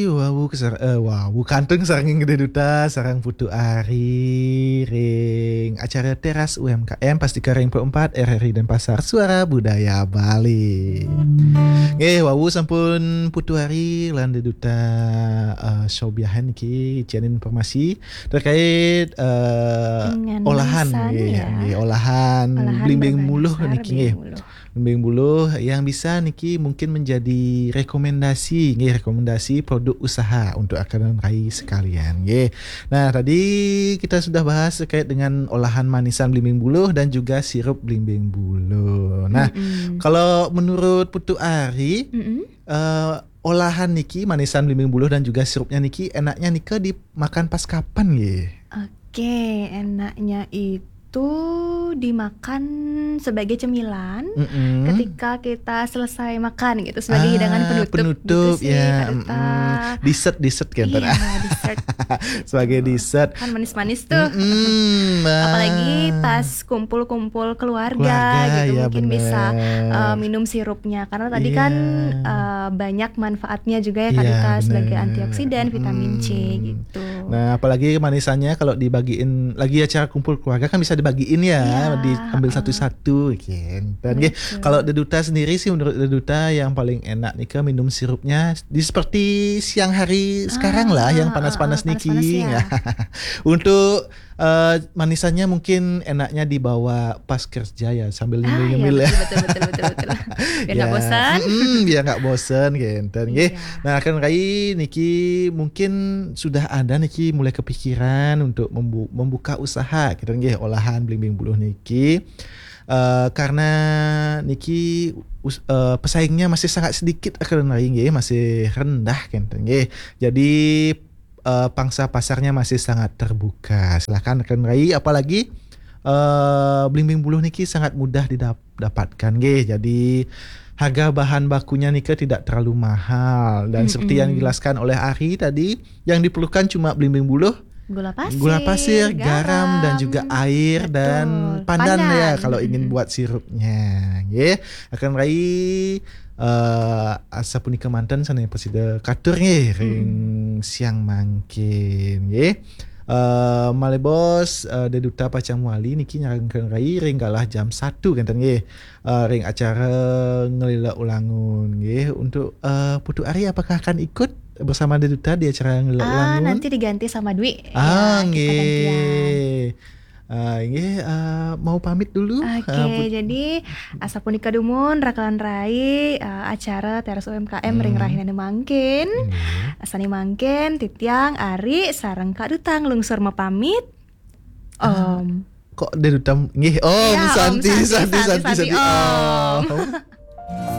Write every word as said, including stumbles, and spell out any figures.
Wawu kesar eh, wawu kantun sareng Dé Duta sareng Putu Ari ring acara Teras U M K M pas tiga ring empat R R I Denpasar, Suara Budaya Bali. Nggih, wawu sampun Putu Ari lan Dé Duta eh, sobiahan niki, icén informasi terkait eh, Dengan olahan manisan, nggih, ya. nggih, olahan Olahan blimbing berbahan buluh dasar niki nggih. blimbing buluh. Blimbing buluh yang bisa niki mungkin menjadi rekomendasi, nggih, rekomendasi produk usaha untuk akan rai sekalian, nggih. Nah, tadi kita sudah bahas terkait dengan olahan manisan blimbing buluh dan juga sirup blimbing buluh. Nah, Mm-mm. kalau menurut Putu Ari, Mm-mm. eh, olahan niki manisan blimbing buluh dan juga sirupnya niki enaknya nika dimakan pas kapan, nggih? Oke, enaknya itu dimakan sebagai cemilan Mm-mm. ketika kita selesai makan gitu, sebagai Ah, hidangan penutup, penutup, gitu sih, ya, Kak Duta. Mm-mm. Dessert, dessert kan, Iya, Tan? dessert. Sebagai dessert. Kan manis-manis tuh. Mm-mm, nah. Apalagi pas kumpul-kumpul keluarga, Keluarga, gitu, ya, mungkin bisa bener. Eh, minum sirupnya, karena tadi Iya. Kan eh, banyak manfaatnya juga ya, Kak Iya, Duta, sebagai bener. Antioksidan, vitamin C, Mm-mm. Gitu. Nah, apalagi manisannya kalau dibagiin lagi acara kumpul keluarga kan bisa dibagiin ya, Iya, diambil heeh. Satu-satu, gitu. Dan nggih, Betul. Kalau Dé Duta sendiri sih, menurut Dé Duta yang paling enak nika minum sirupnya di seperti siang hari sekarang lah, yang Ah, panas-panas ah, ah, niki. panas-panas ya. Untuk eh, manisannya mungkin enaknya dibawa pas kerja ya, sambil Ah, ya, nyemil-nyemil ya. Betul, betul, betul, betul, betul. Biar nggak Ya, bosan. mm-mm, biar nggak bosen, gitu, nggih. Iya. Nah, akan rai niki mungkin sudah ada niki mulai kepikiran untuk membu- membuka usaha, gitu, nggih, olahan blimbing buluh niki. Eh, karena niki us- eh, pesaingnya masih sangat sedikit, akan rai, nggih, masih rendah, gitu, nggih. Jadi eh, pangsa pasarnya masih sangat terbuka. Silahkan, akan rai, apalagi eh, blimbing buluh niki sangat mudah didapatkan, nggih. Jadi harga bahan bakunya nika tidak terlalu mahal dan seperti yang Mm-mm. dijelaskan oleh Ari tadi, yang diperlukan cuma blimbing buluh, Gula pasir, gula pasir, garam, dan juga air Betul. Dan pandan ya, Pandan. kalau ingin Mm-mm. buat sirupnya, nggih. Akan rai eh, asapunika manten sané prasida katur, nggih, ring Mm-mm. siang mangkin, nggih. Eh, malih bos, eh, Dé Duta pacang mawali niki nyarengkeun rai ring galah jam satu, kénten, nggih. Eh, ring acara Ngelila Ulangun, nggih. Untuk eh, Putu Ari, apakah akan ikut bersama Dé Duta di acara Ngelila Ah, Ulangun? Nanti diganti sama Dwi. Ah, Ya, kita gantian. Nggih. Ah, nggih, ah, mau pamit dulu. Oke, Ah, Put- jadi asapunika dumun rakelan rai, eh, acara Teras U M K M ring Hmm. rahinané mangkin. Nggih. Sané mangkin, titiang Ari sareng Kak Duta nglungsur mapamit. Ah, Om. Kok Dé Duta, nggih, Om Ya, Om Santi, Santi, Santi, Santi, Santi, Santi, Santi, Om. Om.